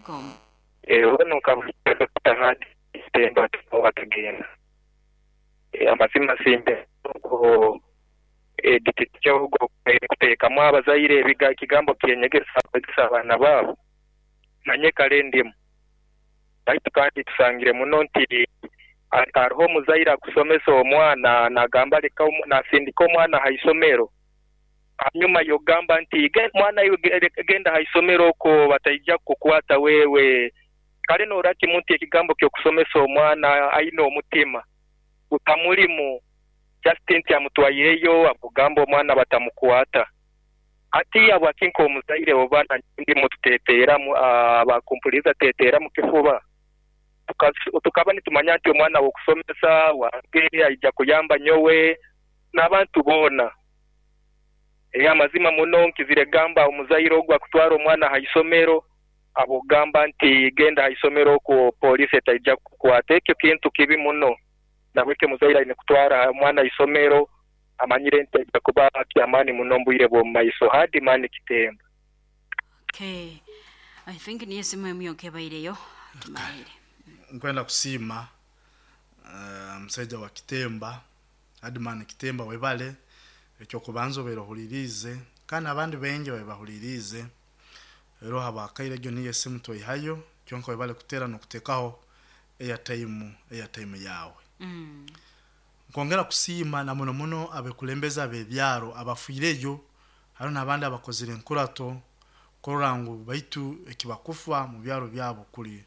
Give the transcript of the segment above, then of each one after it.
Onu nka Hadi Kitemba atagenda. Amazima simbe ogwo editi ogwo kuteekamu abazaire ekigambo kyenyegesa kwegesa abaana baabo nanye kale ndimu. Baitu kandi tusangire muno nti hariho omuzaire akusomesa omwana nagamba leka nasindika omwana ha isomero hanyuma yogamba nti mwana iwe genda ha isomero okwo bataija kukukwata wewe. Kale norora kimu nti ekigambo kyokusomesa omwana aine omutima gutamulimu just nti amutwaireyo akugamba omwana batamukwata. Hati habwaki nk'omuzaire oba ndimu tuteteeramu abakumpuliriza teteera mu kifuba? Tukaba nitumanya nti omwana w'okusomesa wange aija kuyamba nyowe n'abantu boona. Amazima muno nkizire gamba omuzaire ogwo akutwara omwana ha isomero abogamba nti genda ha isomero okwo poliisi etaija kukukwata. Ekyo kintu kibi muno. Nabwekyo omuzaire aine kutwara omwana ha isomero amanyire nti aija kuba kyamaani muno mu bwire bw'omu maiso. Hardman Kitemba. Okay. I think niyo esimu emu yonka ebaireyo tumalire. Nkwenda kusiima omusaija wa Kitemba, Hardman Kitemba, webale ekyokubanza obaire ohuliriize kandi abandi baingi babe bahuliriize. Rero habwakaire egyo niyo esimu twaihayo, kyonka webale kuteera n'okuteekaho airtime yaawe. Nkwongera kusiima na muno muno abekulembeze ab'ebyaro abafiireyo, hariho n'abandi abakozire enkurato kurora ngu baitu ekibakufa mu byaro byabo kuli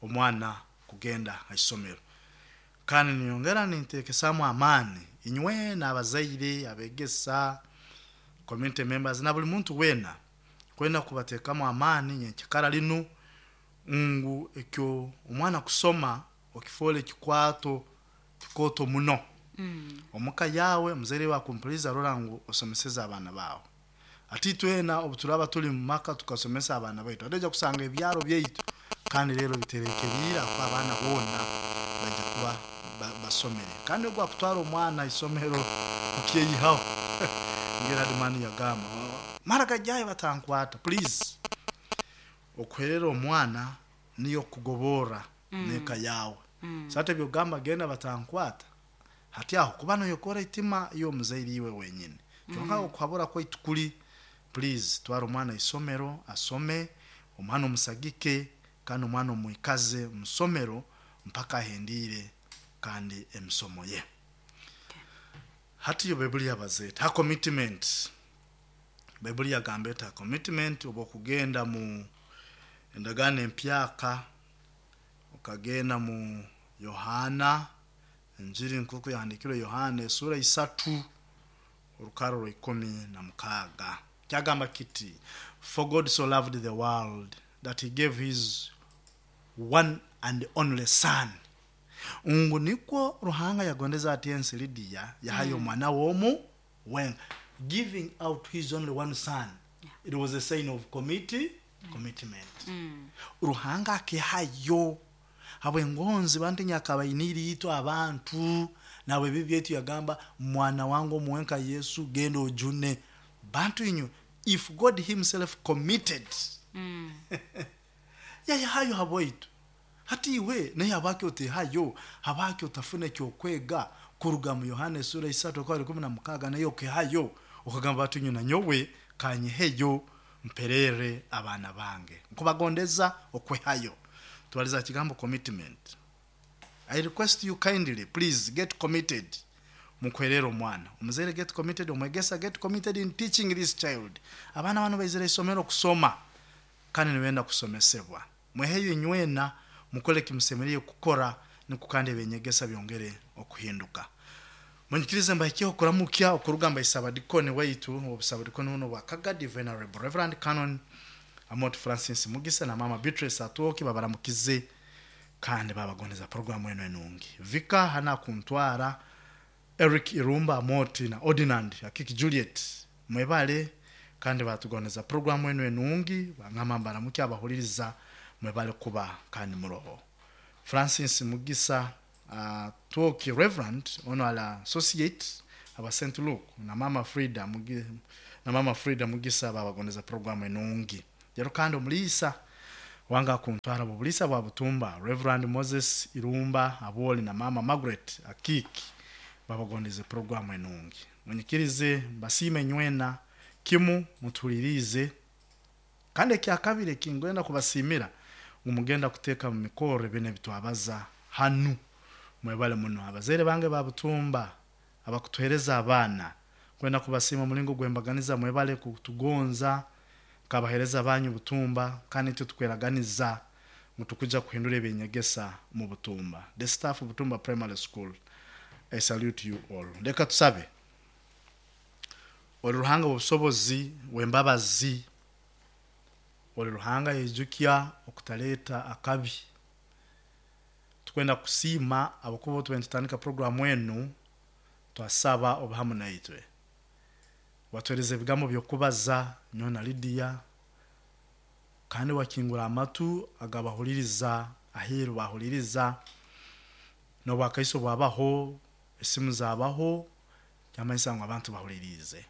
omwana kugenda ha isomero. Kandi ninyongera ninteekesamu amaani inywe n'abazaire, abegesa, community members na buli muntu weena kwenda kubateekamu amaani nyenkikara linu ngu ekyo omwana kusoma okifoole ekikwato kikooto muno. Omuka yaawe omuzaire wakumpuliriza rora ngu osomeseze abaana baawe. Ati itwena obu turaba tuli mu maka tukasomesa abaana baitu, ate oija kusanga ebyaro byaitu kandi rero biterekeriire ahakuba abaana boona baija kuba basomere. Kandi ogu akutwara omwana ha isomero okyeyihaho. Ngeri Hardman yagamba, mara gajyayo batankwata, please. Okuherera omwana niyo kugoborra n'eka yaawe. So hati ebyokugamba genda batankwata, hati aho kuba noyokora itima y'omuzaire iwe wenyini. Kyonka okuhabura kwaitu kuri, please twara omwana isomero asome, omwana omusagike kandi omwana omwikaze mu somero mpaka ahendiire kandi emisomo ye. Hati yo Baibuli yabaza eti ha commitment. Baibuli yagamba eti ha commitment obu okugenda mu endagaano empyaka okagenda mu Yohaana, enjiri nk'oku yahandiikirwe Yohaana esuura isatu orukaro rwa 16. Kyagamba kiti, For God so loved the world that he gave his one and only son. Ngu nikwo Ruhanga yagondeze ati ensi Lydia yahayo omwana we omu wenka. Giving out his only one son, it was a sign of commitment. Ruhanga akehayo habw'engonzi bantu nyakaba ainiire itwe abantu nahabw'ebibi byaitu yagamba mwana wange omu wenka Yesu genda ojune bantu inywe. If God himself committed, yayehayo habwaitu, hati iwe naye habwaki otehayo? Habwaki otafuna ekyokwega kuruga mu Yohana esuura isatu okwa 16 naye okehayo okagamba bati inywe nanyowe kanyeheyo mpererre abaana bange. Nkubagondeza okwehayo. Twaliza ha kigambo commitment. I request you kindly please get committed mukuherera omwana. Omuzaire get committed, omwegesa get committed in teaching this child. Abaana banu baizire isomero kusoma kandi nibenda kusomesebwa. Mweheyo inywena mukole ekimusemeriire kukora nukwo kandi eby'enyegesa byongere okuhinduka. Munyikirize mbahikyeho okuramukya okuruga mba Isabadikoni waitu ow'obusabadikoni bunu obwa Kagadi Venerable Reverend Canon Amot Francis Mugisa na Maama Beatrice Atwoki babaramukize kandi babagondeza puroguramu enu enungi. Vicar Hannah Kuntwara, Eric Irumba Amoti na Ordinand Akiki Juliet mwebale kandi batugondeza puroguramu enu enungi. Bangamba mbaramukye abahuliriza mwebale kuba kandi muroho. Francis Mugisa Atwoki Reverend ono ali associate aba Saint Luke na Maama Frida na Maama Frida Mugisa babagondeza puroguramu enungi. Rero kandi omuliisa. Wanga kuntwara bubulisa bwa Butumba, Reverend Moses Irumba Aboli na Mama Margaret Akiki babagondeze programu enungi. Munyikirize mbasiime nywena kimu mutulirize, kandi ekyakabiri ekingwenda kubasimira ngu mugenda kuteeka mu mikoro ebyo ebitwabaza hanu. Mwebale muno abazaire bange ba Butumba abakutuhereza abaana, kwenda kubasiima omulingo gwembaganiza. Mwebale kutugonza nkabahereza banyu Butumba, kandi itwe tukweraganiza ngu tukuja kuhindura ebyenyegesa mu Butumba. The staff of Butumba Primary School, I salute you all. Leka tusabe. Oli Ruhanga w'obusobozi w'embabazi, oli Ruhanga yejukya okutaleta akabi. Tukwenda kusiima abakuba tube nitutandika programu enu, twasaba obuhamu naitwe watuhereza ebigambo by'okubaza nyowe na Lydia, kandi wakingura amatu agabahuliriza aheeru bahuliriza n'obwakaiso bwabaho, esimu zabaho, kyamanyisa ngu abantu bahuliriize.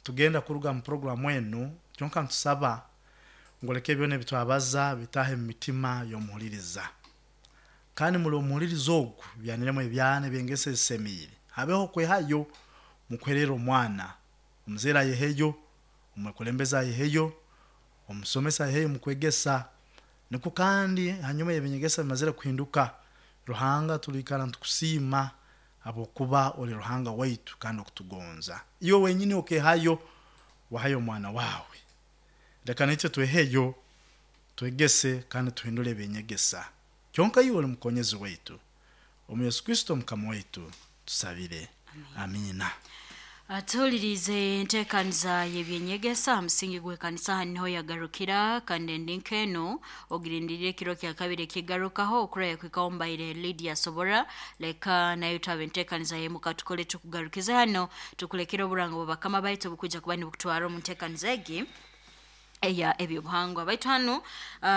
Tugenda kuruga mu programu enu, kyonka ntusaba ngu leka ebyona ebitwabaza bitahe mu mitima y'omuhuliriza, kandi muri omuhuliriza ogu byaniremu ebyana ebyengeso ezisemiire, habeho okwehayo mukuherera omwana. Omuzaire ayeheyo, omwekulembeze ayeheyo, omusomesa ayeheyo mukwegesa. Nikwo kandi hanyuma y'ebinyegesa bimazire kuhinduka, Ruhanga tuliikara nitukusiima habwokuba oli Ruhanga waitu kandi okutugonza. Iwe wenyini okehayo, wahayo omwana wawe. Leka naitwe tweheyo, twegese kandi tuhindule ebyenyegesa. Kyonka iwe oli mukonyezi waitu. Omu Yesu Kristo Mukama waitu tusabire. Amina. Atuhulirize enteekaniza y'ebyenyegesa aha musingi gw'ekanisa aha niho yagarukira, kandi endi nk'enu ogirindirire ekiro kya kabiri ekigarukaho okuraya kwikaho mbaire Lydia Sobora. Leka nayo twaba enteekaniza y'emuka tukole tukugarukize hano, tukulekere oburango bwa bakama baitu obukwija kuba nibukutwara omu nteekaniza egi eya ebyobuhangwa baitu hanu.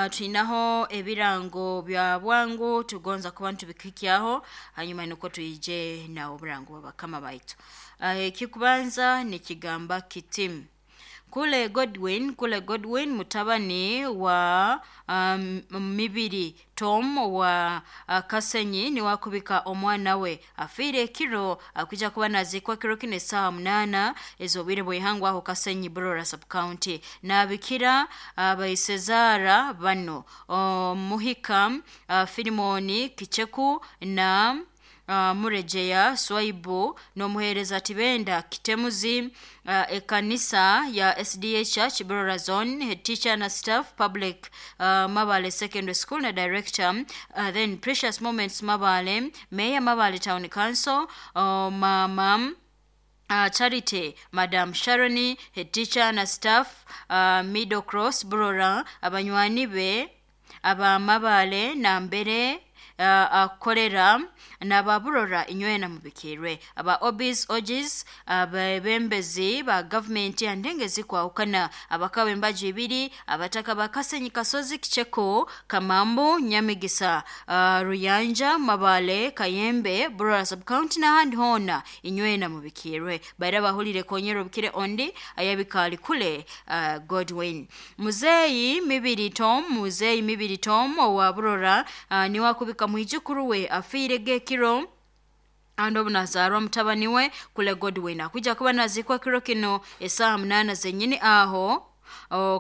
Twinaho ebirango bya bwangu tugonza kuba ntubikikyaho, hanyuma nukwo twije na oburango bwa bakama baitu. Ekikubanza nikigamba kiti: Kule Godwin, Kule Godwin mutabani wa Mibiri Tom wa Kasenyi niwe akubika omwana we afiire ekiro, akwija kuba nazikwa kiro kino esaaha 8 ez'obwire bw'ihangwe aho Kasenyi, Burora sub county. Nabikira abaisezara bano: Muhika Filimoni Kicheku na Murejeya Swaibu n'omuheereza Tibenda Kitemuzi, ekanisa ya SDA Church Burora Zone, head teacher na staff public Mabale Secondary School na director, then Precious Moments Mabale, Mayor Mabale Town Council, Mama Charity Madam Sharoni, head teacher na staff Middle Cross Burora, abanywani be abamabale nambere akorera n'ababurora inywena mubikirwe, aba obis ogis, abebembezi ba gavumenti andengezi kwahukana, abakaba embaju ibiri, abataka ba Kasenyi, Kasozi, Kicheko, Kamambu, Nyamigisa, Ruyanja, Mabale, Kayembe, Burora sub county n'ahandi hoona inywena mubikirwe. Baira bahulire konyera obukire ondi ayabikaali kule Godwin Muzeeyi Mibiri Tom, Muzeeyi Mibiri Tom owa Burora, niwe akubika mwijukuru we afiire gekiro andi obu nazaarwa mutabani we Kule Godwin, akwija kuba nazikwa kiro kino esaaha 8 zenyini aho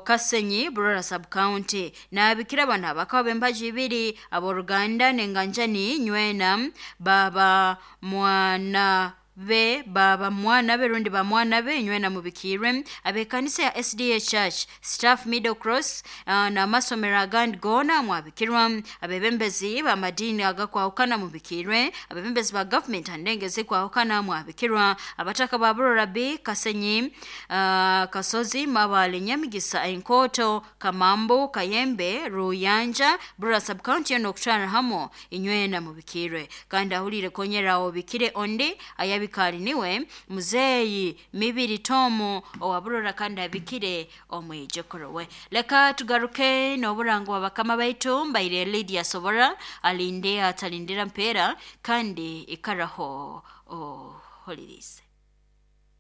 Kasenyi, Burora sub county. Nabikira bano abakaba b'embaju ibiri, ab'oruganda n'enganjani nywena, baba mwana be, baba mwana be rundi ba mwana be nywena mubikirwe, abekanisa ya SDA Church staff Middle Cross n'amasomero agandi goona mwabikirwa, abebembezi b'amadiini agakwahukana mubikirwe, abebembezi ba gavumenti andengezi kwahukana mwabikirwa, abataka ba Burora B, Kasenyi, Kasozi, Mabale, Nyamigisa, Enkoto, Kamambu, Kayembe, Ruyanja, Burora sub county yona okutwara hamo inywena mubikirwe. Kandi ahulire konyera obikire ondi ayabikaali niwe Muzeeyi Mibiri Tomu owa Burora, kandi abikire omwijukuru we. Leka tugaruke n'oburango bwa bakama baitu. Mbaire Lydia Sobora, alinde atalindira mpeera kandi ikaraho oholirize.